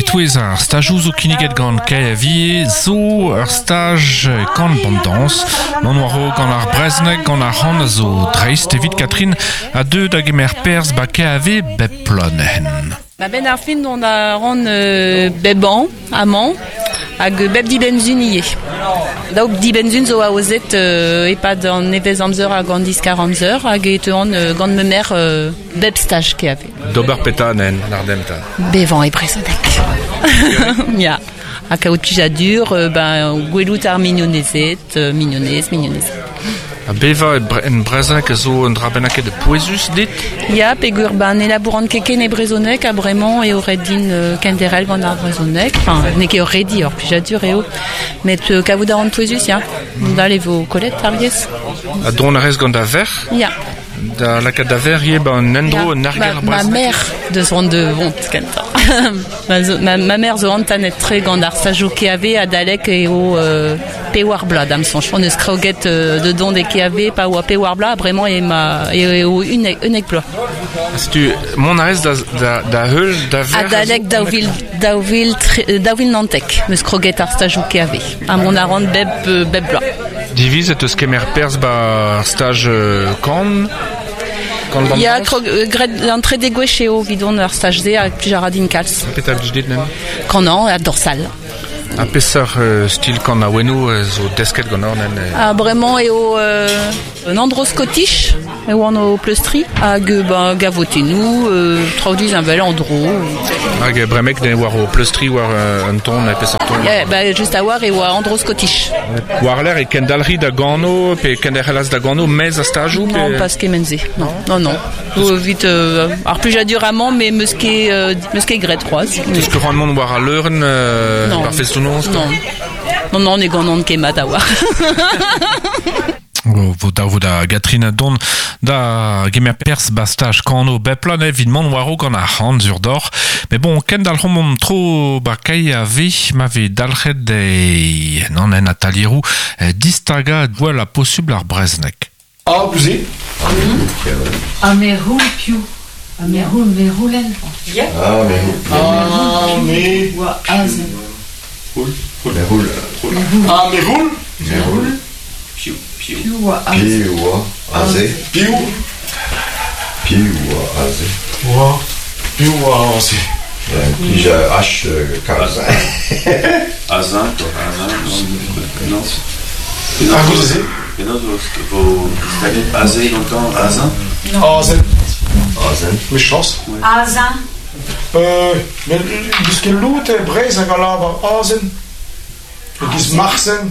E-touez ar stajoù zo kinniget gant KAV zo ur staj kan bandañs. Mont war-raok gant ar brezhoneg gant ar c'han a zo dreist evit Catherine a deu da gemer perzh ba KAV bep bloaz neuzen. Ba benn ar fin dont a ran bep an amañ hag bep dibenn-sun ivez. Daou dibenn-sun zo aozet e-pad an nevez-amzer hag an diskar-amzer hag e teuan gant ma merc'h bep staj KAV. D'ober petra nen, ardem 'ta? Bevañ e brezhoneg. Ya. Ha kaout plijadur, ben, gwelout ar mignonezed, mignonez, mignonez. Ha bevañ en brezhoneg a zo un dra bennaket pouezus dit? Ya, peogwir ben, ne labouran ket ken e brezhoneg ha bremañ eo ret din kenderc'hel gant ar brezhoneg. Enfin, n'eo ket ur redi, ur plijadur eo. Met kavout a ran pouezus, ya. Dal e vo kollet ar yezh. Ha dont a rez gant da verc'h? Ya. Da lakaat da verc'h ivez ba an endro un arger Ma, ma mère deus c'hoant de vont kentañ. ma, zo, ma, ma mère zo entanet-tre gant ar stajoù KAV adalek eo euh, pewar bloaz da'm soñj. On eus kroget euh, de dont e KAV pa oa pewar bloaz, bremañ eo ma eo unnek, unnek bloaz. Setu mont a rez da, da, da heul da verc'h Adalek daou vil, daou vil, daou vil nantek 'm eus kroget ar stajoù KAV. Ha mont a ran bep, bep bloaz. Divizet eus kemer perzh 'ba ar staj kan Kan Ya, krog, graet an trede gwech eo 'vidon ar staj-se hag plij a ra din kalz. Petra blij dit neuze? Kanañ ha dorsal. Ha peseurt stil kanaouennoù zo desket ganeoc'h nen? Ha bremañ eo un endro scottish e oan o pleustriñ hag ben gavotennoù, traoù disheñvel en-dro. Hag bremek ne war o pleustriñ war un ton, peseurt ton? Ya, ba just a-walc'h e oa endro scottish. War-lerc'h e kendalc'hi da gano pe kenderc'helas da gano maez a stajoù? Pe... Non, pas kement-se. Non, non, non. Evit ar plijadur amañ, mais 'meus ket, 'meus ket graet c'hoazh. Teus ket c'hoant mont war al leurenn Non. ar festoù-noz? Non. Non, non, ne ganan ket mat a-walc'h. Vo dav vo da Gatrin dont da gemer perzh ba staj kano bep bloaz evit mont war-raok gant ar c'han sur doc'h. Mais bon, kendalc'homp omp tro ba kai a ve ma vez dalc'het e non en atalieroù distagañ gwell ha posubl ar brezhoneg. Ah, gouze. Ha me roul piv? Ha me roul, me roulen. Ah, me Ah, me Oa aze. Roul. Me roul. Ah, me roul. Me roul. Piv, piv. Piv oa aze? Piv oa aze? Piv. Piv oa aze? Oa. Piv oa aze? Plij H kalz. Azin, quoi. Azin, non, non. Ah, goude-se? Penaos vo distaget aze gantañ Azin? Azen. Azen. Mechañs. Azin. Met n'eus ket lod e Breizh hag a lavar azen. E-giz Marsen.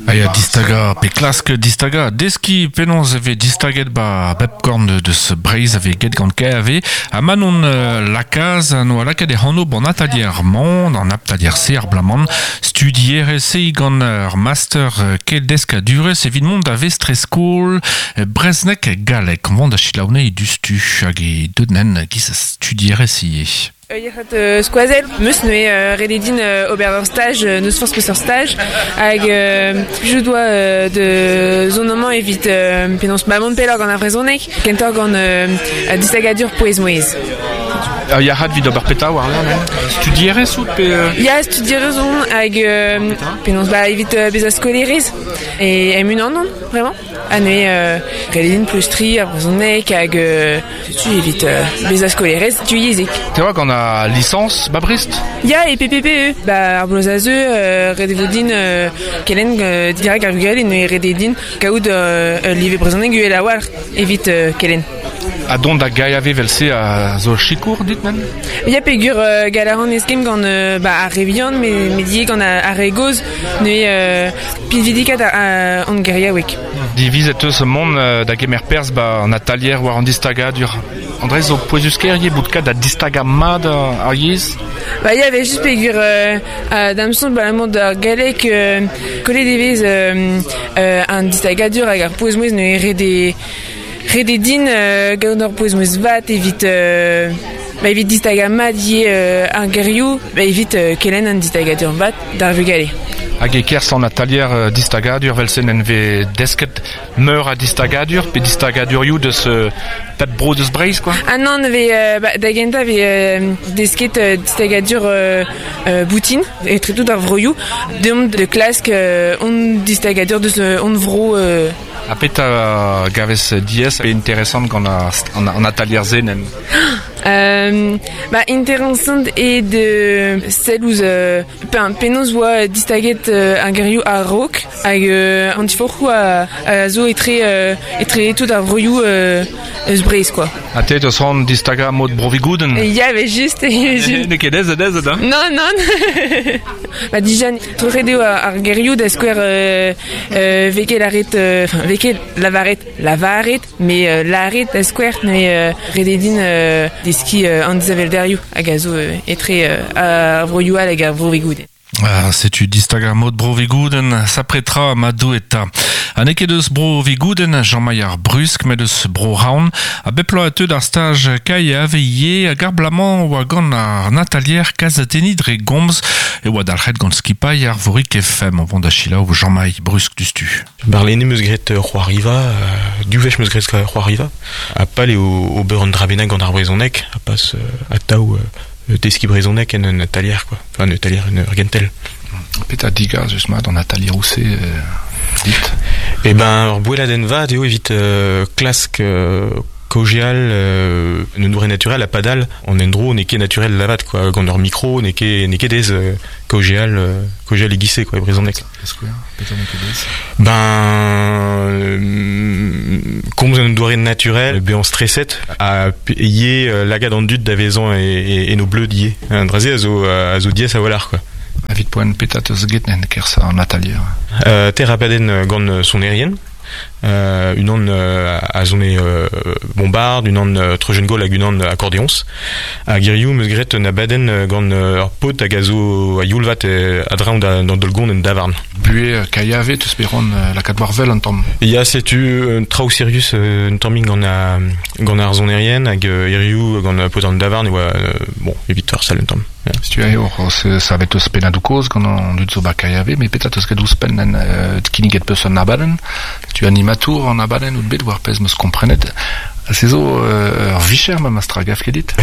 Ah ya, distagañ pe klask distagañ, deskiñ penaos e vez distaget ba bep korn deus Breizh a vez get gant KAV. Ha Manon Lakaas a noa lakaet e anv ban atalier-mañ, an atalier-se ar bloaz-mañ, studierez-se gant ur master keldeskadurezh evit mont da vestrez-skol brezhoneg galleg. Mont da selaou anezhi diouzhtu hag e deut nen giz studierez ivez. Yec'hed skoazell 'meus neuze ret eo din ober ur staj n'eus forzh peseurt staj hag plijout oa da zont amañ evit penaos ma mont pelloc'h gant ar brezhoneg kentoc'h gant distagadur pouez-mouezh. Ur yac'had evit ober petra war-lerc'h Studierez out pe Ya, studierez on hag penaos ba evit bezañ skolaerez e em-unan on vraiment. Ha neuze ret eo din pleustriñ ar brezhoneg hag setu evit bezañ skolaerez divyezhek. Te oa gant al lisañs ba Brest? Ya, e PPPE. Ba ar bloaz a zeu, ret e vo din kelenn dirak ar vugale neuze ret eo din kaout ul live brezhoneg uhel a-walc'h evit kelenn. Ha dont da gaeañ evel-se a zo sikour dit nen? Ya, peogwir gall a ran eskemm gant ba, ar re vihan met ivez gant ar re gozh. Neuze pinvidikat an geriaoueg. Divizet eus mont da gemer perzh ba an atalier war an distagadur. André zo pouezus-kaer ivez bout kat da distagañ mat ar yezh? Ba ya, evel-just peogwir da'm soñj abalamour d'ar galleg kollet e vez an distagadur hag ar pouez-mouezh neuze ret eo ret eo din gaout ur pouez-mouezh vat evit ba evit distagañ mat ivez ar gerioù, ba evit kelenn an distagadur vat d'ar vugale. Hag e kerzh an atalier distagadur vel-se en vez desket meur a distagadur pe distagadurioù deus pep bro deus Breizh quoi. Ah non, ve ba, da gentañ ve desket distagadur boutin etre tout ar vroioù. Deomp de klask hon distagadur deus hon vro. Ha petra gavez diaes pe interesant gant an atalier-se nen? Ba, interesant eo de sell ouzh penaos oa distaget ar gerioù a-raok hag an diforc'hoù a zo etre etre tout ar vroioù eus Breizh quoi. Ha te teus c'hoant distagañ mod Bro-Vigoudenn? Ya, mais just. N'eo ket aes aes da? Non, non. Ba dija troc'het eo ar gerioù da skouer vez ket lâret enfin vez ket lavaret lavaret mais lâret da skouer mais ret eo din deskiñ an disheñvelderioù hag a zo etre ar vroioù all hag ar Vro-Vigoudenn. Ah, setu distagañ mod Bro-Vigoudenn, sapre tra ma Doue 'ta. Ha n'eo ket eus Bro-Vigoudenn, Jean-Maï ar Brusk, met eus Bro-Raon. Ha bep bloaz e teu d'ar staj KIAV ivez, hag ar bloaz-mañ oa gant ar Natalier kazetenniñ dre gomz e oa dalc'het gant skipailh Arvorig FM. O vont da selaou Jean-Maï Brusk diouzhtu. Barlene 'm eus graet c'hoariva, div wech 'm eus graet c'hoariva. Ha pal eo ober un dra bennak gant ar brezhoneg, ha pas atav deskiñ brezhoneg en un atalier quoi. Enfin un atalier, en ur gentel. Petra digazus mat an atalieroù-se dit? Eh ben, ur boelladenn vat eo evit klask kaozeal en un doare naturel ha padal an endro n'eo ket naturel lavat quoi. Gant ur mikro n'eo ket n'eo ket aes kaozeal kaozeal e-giz-se quoi e brezhoneg. Petra n'eo ket aes? Ben komz en un doare naturel, bezañ streset ha ivez lakaat an dud da vezañ en o bleud ivez. An dra-se a zo a zo diaes a-walc'h quoi. Evit poent petra 'teus get en kerzh an atalier? Ter abadenn gant sonerien. Unan a sone bombard, unan treujenn-gaol hag unan akordeoñs. Hag hiziv 'm eus graet un abadenn gant ur paotr hag a zo a-youl-vat a-dreñv d'an daol-gont en davarn. Buhez KIAV 'teus bet c'hoant lakaat war wel un tamm? Ya, setu un traoù sirius un tammig gant gant ar sonerien hag hiziv gant paotr an davarn e oa bon evit ur sal un tamm. Setu eo savet eus pennadoù kozh gant an dud zo ba KIAV, met petra 'teus graet ouzhpenn en kinniget peus un abadenn? Setu animatour an abadenn out bet war pezh 'm eus komprenet. Se zo ur vicher memes tra, gav ket dit?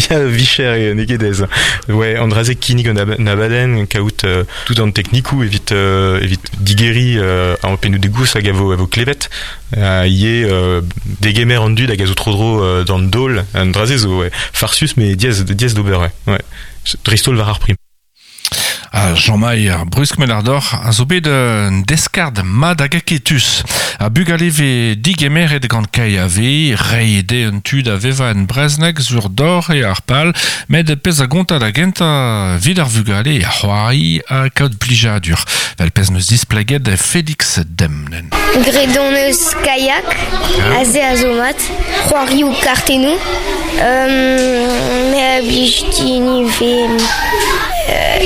Ya, vicher n'eo ket aes. Ouais, an dra-se kinnig un abadenn, kaout tout an teknikoù evit evit digeriñ an pennoù degouz hag a vo a vo klevet. Ivez degemer an dud hag a zo tro-dro d'an daol. An dra-se zo ouais, farsus mais diaes diaes d'ober ouais. ouais. Dreist-holl war ar prim. Ha Jean-Maï Brusk Melardor a zo bet un deskard mat hag aketus. Ha bugale vez digemeret gant KAV, reiñ dezhe un tu da vevañ en brezhoneg sur dor eo ar pal, met pezh a gonta da gentañ evit ar vugale eo c'hoari ha kaout plijadur. Vel pezh 'neus displeget Félix Demnen. Graet hon eus kayak, aze a zo mat, c'hoarioù kartennoù. Me a blij din ivez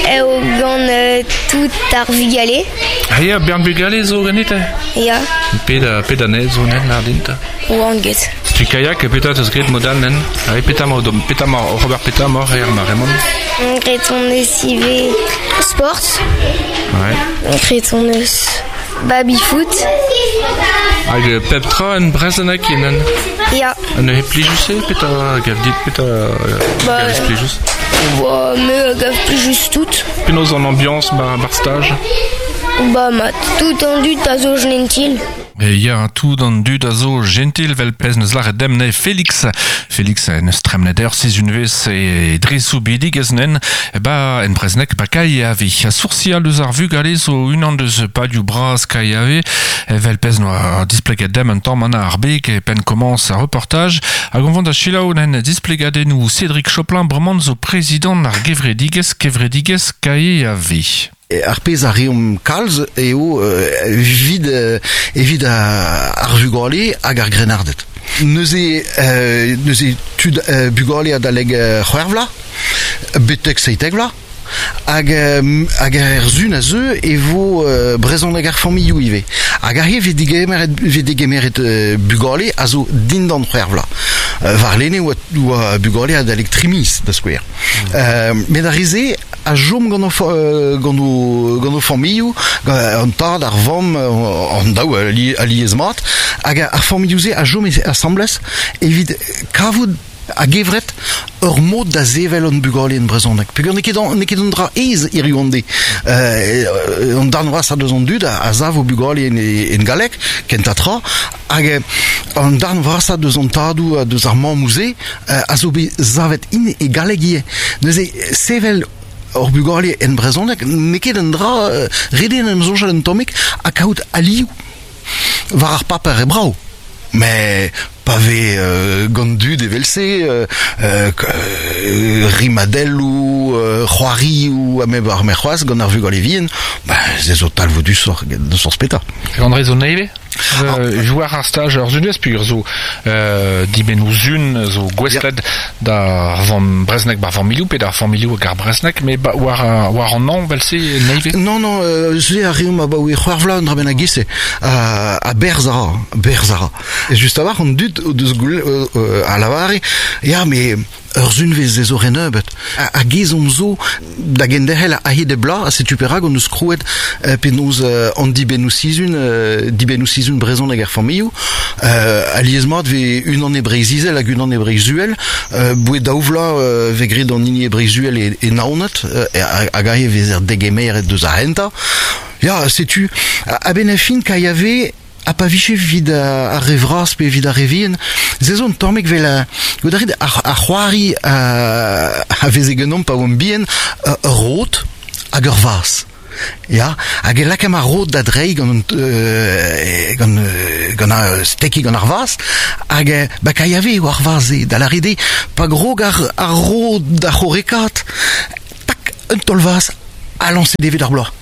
eo gant tout ar vugale. Ah ya, bern bugale zo ganit? Ya. Pet, pet anezhe zo nen, lardint? Oan get. Setu kayak, petra 'teus graet mod all nen? Ah, petra 'mañ petra 'mañ oc'h ober petra 'maoc'h er mare-mañ? Graet hon eus ivez sport. Ouais. Graet hon eus Baby-foot. Hag pep tra en brezhoneg enen? Ya. Ha neuze plijus eo? Petra gav dit? Petra Ba, gavez plijus? Ba, me a gav plijus tout. Penaos an ambiañs ba ar staj? Ba, mat, tout an dud a zo gentil. E ya, tout an dud a zo gentil vel pezh neus lâret demp ne Félix. Félix en eus tremnet ur sizhunvezh e dre soubidigezh nen ba en brezhoneg ba KIAV. Ha soursial eus ar vugale zo unan deus palioù bras KIAV evel pezh noa displeget demp un tamm an ar beg e penn komañs ar reportaj. Hag on vont da selaou nen displegadennoù Cédric Choplin bremañ zo prezidant ar gevredigezh kevredigezh KIAV. Ar pezh a reomp kalz eo evit evit ar vugale hag ar grennarded. Neuze neuze tud bugale adalek c'hwec'h vloaz betek 17 vloaz hag hag er sun a zeu e vo brezhoneg ar familhoù ivez. Hag aze 'vez degemeret 'vez degemeret bugale a zo dindan c'hwec'h vloaz. Warlene 'oa 'oa bugale adalek tri miz da skouer. Met ar re-se a chom gant o, gant o, gant o familhoù, an tad, ar vamm, an daou alies mat, hag ar familhoù-se a chom asambles evit kavout a-gevret ur mod da sevel hon bugale en brezhoneg. Peogwir n'eo ket n'eo ket un dra aes hiriv an deiz. An darn vrasañ deus an dud a sav o bugale en, en galleg, kentañ tra, hag an darn vrasañ deus an tadoù ha deus ar mammoù-se a zo bet savet int e galleg ivez. Neuze sevel hor bugale en brezhoneg n'eo ket un dra ret eo en em soñjal un tammig ha kaout alioù war ar paper eo brav. Met pa vez gant dud evel-se rimadelloù, c'hoarioù ha me oar me c'hoazh gant ar vugale vihan, ba se zo talvoudusoc'h eget n'eus forzh petra. André zo nevez Jouer ar staj ur sunvezh peogwir zo dibennoù sun zo gouestlet d'ar vamm brezhoneg bar familhoù pe d'ar familhoù hag ar brezhoneg met war war an hañv vel-se nevez? Non, non, se a reomp abaoe c'hwec'h vloaz un dra bennak e-se. Ha berzh a ra, berzh a ra. Just a-walc'h an dud o deus a lavare ya mais ur sunvezh ez zo re nebeut. Hag ezhomm zo da genderc'hel a-hed e bloaz ha setu perak hon eus krouet penaos an dibennoù-sizhun, dibennoù-sizhun brezhoneg er familhoù. Alies-mat vez unan e Breizh-Izel hag unan e Breizh-Uhel. Boe daou vloaz vez graet an hini e Breizh-Uhel e Naoned hag aze e vezer degemeret deus ar c'hentañ. Ya, setu, a-benn ar fin, KAV Ha pa vije evit ar re vras pe evit ar re vihan, se zo un tammig 'vel goût a rit ar c'hoari a veze ganeomp pa oamp bihan, ur rod hag ur vazh. Ya, hag e lakaemp ar rod da dreiñ gant gant gant ar stekiñ gant ar vazh, hag ba kailhave eo ar vazh-se, da lâret eo pa grog ar ar rod da c'horrekaat, tak, un taol-vazh ha lañset evit ar bloaz.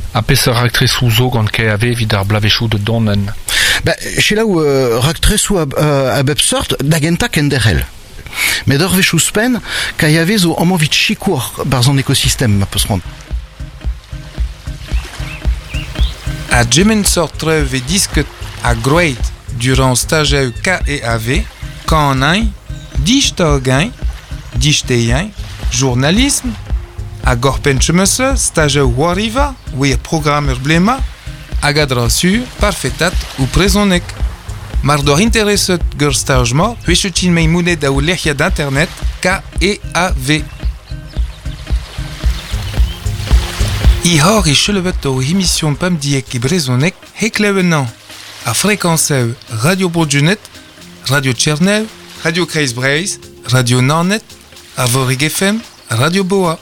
Ha peseurt raktresoù zo gant KAV evit ar bloavezhioù da dont en? Ba, selaou raktresoù a bep seurt da gentañ kenderc'hel. Met ur wech ouzhpenn, KAV zo amañ evit sikour barzh an ekosistem ma peus c'hoant. Ha gement sort traoù vez disket ha groeit durant stajoù KEAV, kanañ, distagañ, disteiañ, journalism, hag oc'hpenn chemeuse stajoù c'hoariva wir programm ur blema hag a-dra-sur parfetat ou brezhoneg. Mar doc'h intereset gant staj-mañ, huechetin meimoned da lec'hiad internet KEAV. Ihor e chelevet o emission pemdiek e brezhoneg heklev ennañ ar frekañsev Radio Bro-Junet, Radio Tchernev, Radio Kreiz Breizh, Radio Naoned, Arvorig FM, Radio Boa.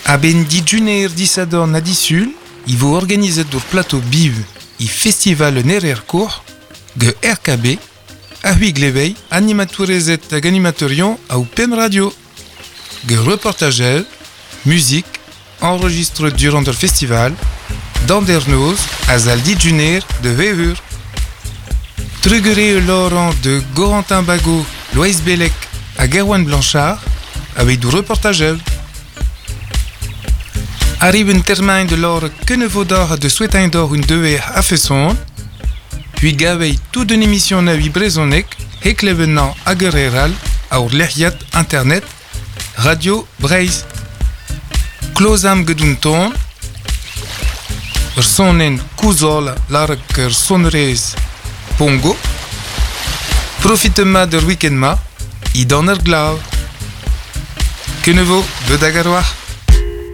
A-benn dijuner disadorn ha disul e vo organizet ur plateau biv e festival un erer court ge RKB ha c'hwi glevei animatourezed hag animateurion a pemp radio. Ge reportajel, muzik, enregistre durant ur festival, d'andernoz a zal dijuner de Wevur. Trugere Laurent de Gorentin Bagot, Loeiz Bellec hag Erwan Blanchard aveit reportajel. Arriv un termen de lor kenevodor de souhaitain d'or un deuer a feson, puis gavei tout une émission na brezhoneg, heklevennañ hag ur eral aour lec'hiad internet Radio Breizh. Klozam get un ton, ur sonenn kouzol lâret ur sonerezh Pongo. Profit mat ur week-end-ma, idan ar glav. Kenevo, deut hag ar war.